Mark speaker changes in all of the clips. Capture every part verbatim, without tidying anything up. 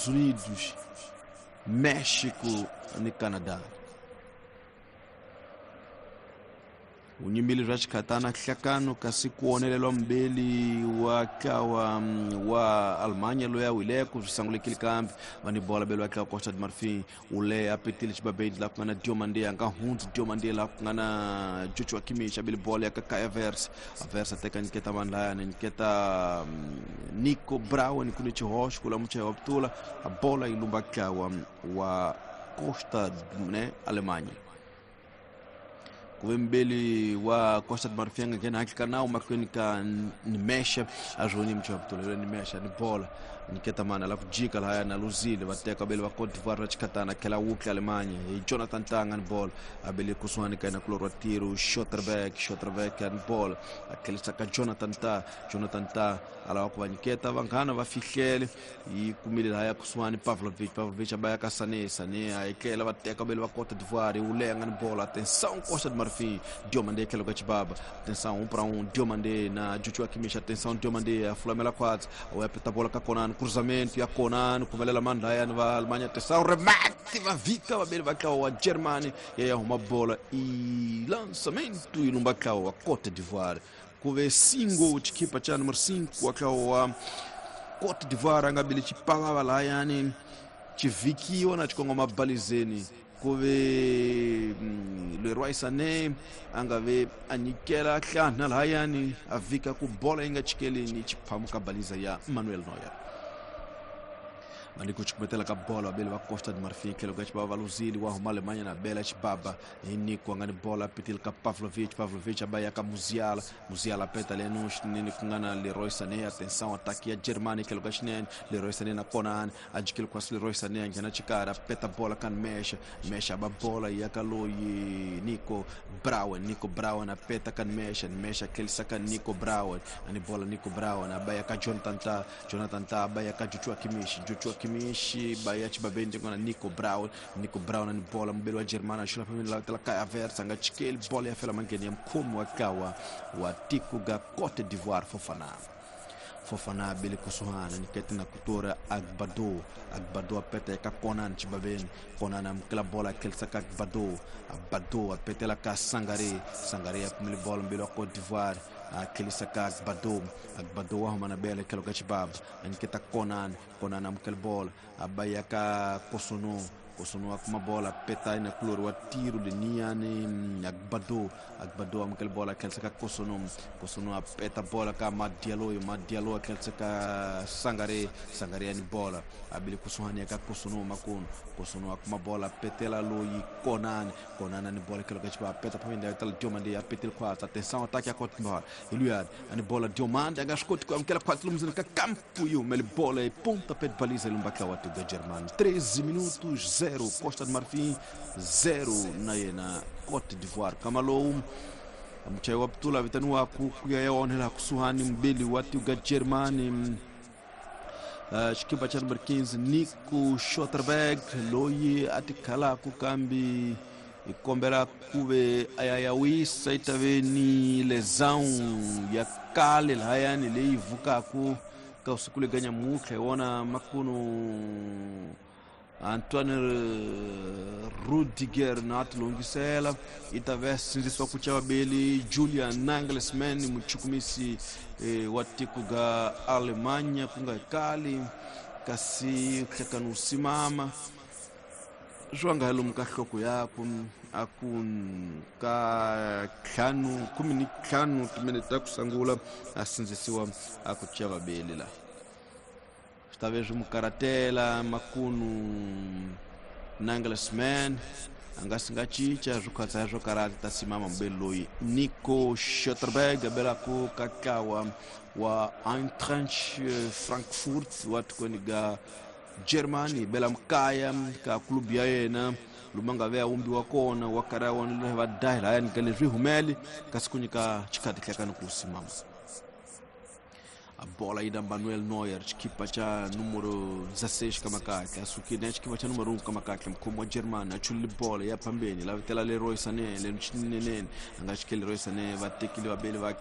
Speaker 1: Unidos, México ni Canadá. Unyimbili bya xikhatana hlakano kasi ku onelelwa mbeli wa tlawa wa Alemanha loyi a wileko swi sangulekile kambe va ni bola belo wa tlawa Costa de Marfim u le a petile xibabeni laha ku nga na Diomande a nga hundzi Diomande laha ku nga na Joshua Kimmich a bele bola ya ka Kai Havertz Havertz a teka nyiketa vanhu layani nyiketa Nico Brown ku ni xihoxo ku la muchayi wa putula a bola yi lumba tlawa wa Costa ne Alemanha. Kuve mbeli wa Costa de Marfim nghena hakika nawu mahlweni ka Nimesha a zvoni muthu wa putula Nimesha ni bola nyiketa mana la kujika lahaya na luzile va teka bele va Cote d'Ivoire va chikhatana khela wukla Alemanha hi Jonathan Tanga ni bola a bele kusuhani ka yena kulorwa tiro Schotterbeck Schotterbeck ni bola a tlhelisa ka Jonathan Ta Jonathan Ta a lava ku va nyiketa vanghana va fihlele yi kumile lahaya kusuhani Pavlovic Pavlovic a baya ka Sané Sané a etlela va teka bele va Cote d'Ivoire wu lenga ni bola atenção Costa de Marfim Diomande tlhelo ka Chibaba atenção um para um Diomande na Joshua Kimmich atenção Diomande a fulamela khwatsi a ya peta bola ka Konan cruzamento ya Konan kumelela mandla ya va Alemanha atenção remate va vika vabeli va tlawa wa Germany ya ya huma bola e lançamento e lumba tlawa wa Cote d'Ivoire kuve singo chikipa cha número cinco wa tlawa wa Cote d'Ivoire a nga bile chipavava lahayani chivikiwa na chikongoma balizeni kuve Leroy Sané a nga ve a nyikela hlana lahayani a vika ku bola yi nga chikeleni chiphamuka baliza ya Manuel Neuer. Mali ku chikumetela ka bola bele va Costa de Marfim tlhelo ka Chibaba va luzile wa huma Alemanha na bela Chibaba hi Nico a nga ni bola petile ka Pavlovic Pavlovic a ba ya ka Musiala Musiala peta leno xinene ku nga na Leroy Sané atenção ataque ya Germany tlhelo ka xinene Leroy Sané na Konan a jikile kwasi Leroy Sané a nghena xikarhi a peta bola ka Mesha Mesha ba bola ya ka loyi Nico Brown Nico Brown a peta ka Mesha Mesha tlhelisa ka Nico Brown a ni bola Nico Brown a ba ya ka Jonathan Ta Jonathan Ta a ba ya ka Joshua Kimmich Joshua Kimmich baya chibabeni ngona Nico Brown Nico Brown ni bola mbele wa Germany shula phambi la tela Kai Havertz anga chikeli bola ya fela mangeni ya mkhomo wa kawa wa tikuga Cote d'Ivoire Fofana Fofana bele kusuhana nikete na kutora Agbado Agbado apeta ka Konan chibabeni Konan amkela bola kelsa ka Agbado Agbado apetela ka Sangare Sangare akumile bola mbele wa Cote d'Ivoire akelisa ka Agbado Agbado wa humana bele kelo ka Chibaba aniketa Konan Konan amkela bola abaya ka Kosono Kosono akuma bola peta ina kulor wa tiro de niane Agbado Agbado amkela bola kelsa ka Kosono Kosono apeta bola ka Madialo Madialo kelsa ka Sangare Sangare ani bola abili kusuhani ka Kosono makun Kosono akuma bola petela loyi Konan Konan ani bola kelo ka Chibaba peta pamenda tala Diomande apetel kwatsa atenção ataque a Cote d'Ivoire Iluad ani bola Diomande agaskoti kwa amkela kwatsa lumzini ka campo e o mele bola e ponta pé de baliza lumbaka wa tuga Germany treze minutos zero Costa de Marfim zero na yena Cote d'Ivoire Kamalou muchayi wa putula vitaniwa ku kuya ya onhela kusuhani mbeli wa tuga Germany Uh, xikipa cha number quinze Nico Schotterberg loyi a tikhalaku kambi hi kombela kuve a ya ya wisa yi ta ve ni lesão ya kale lahayani leyi vukaku ka usiku lega nyamutlha hi wona makunu Antoine Rudiger na tilongisela yi ta ve sindzisiwa ku chavabeli Julian Nagelsmann muchukumisi eh, wa tiko ga Alemanha ku nga kali kasi hlekani wu simama swi nga lomu ka nhloko yaku a ku ka ntlhanu khume ni ntlhanu timinete ta ku sungula a sindzisiwa a ku chavabeli la swi ta ve swi mu karatela makunu Nagelsmann a nga si nga cinca swi khatsa swo karata ta simama mubeli loyi Nico Schotterberg a belaku ka ntlawa wa Eintracht Frankfurt wa tikweni ga Germany bela mukaya ka club ya yena luma nga ve a wumbiwa kona wa karhi a wona va dahi lahayani ka leswi humele kasi ku nyika xikhati hlekani ku simama a bola aí da Manuel Neuer xikipa cha número dezesseis kamakakle asukile na xikipa cha número um kamakakle mkhomo wa Germany a chulile bola ya phambeni la vitela Leroy Sané le xinenene a nga xikeli Leroy Sané va tekile vabeli va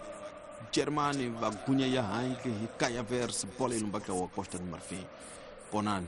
Speaker 1: Germany va gunya ya hanki hi Kai Havertz bola yi lumbaka wa Costa de Marfim Konan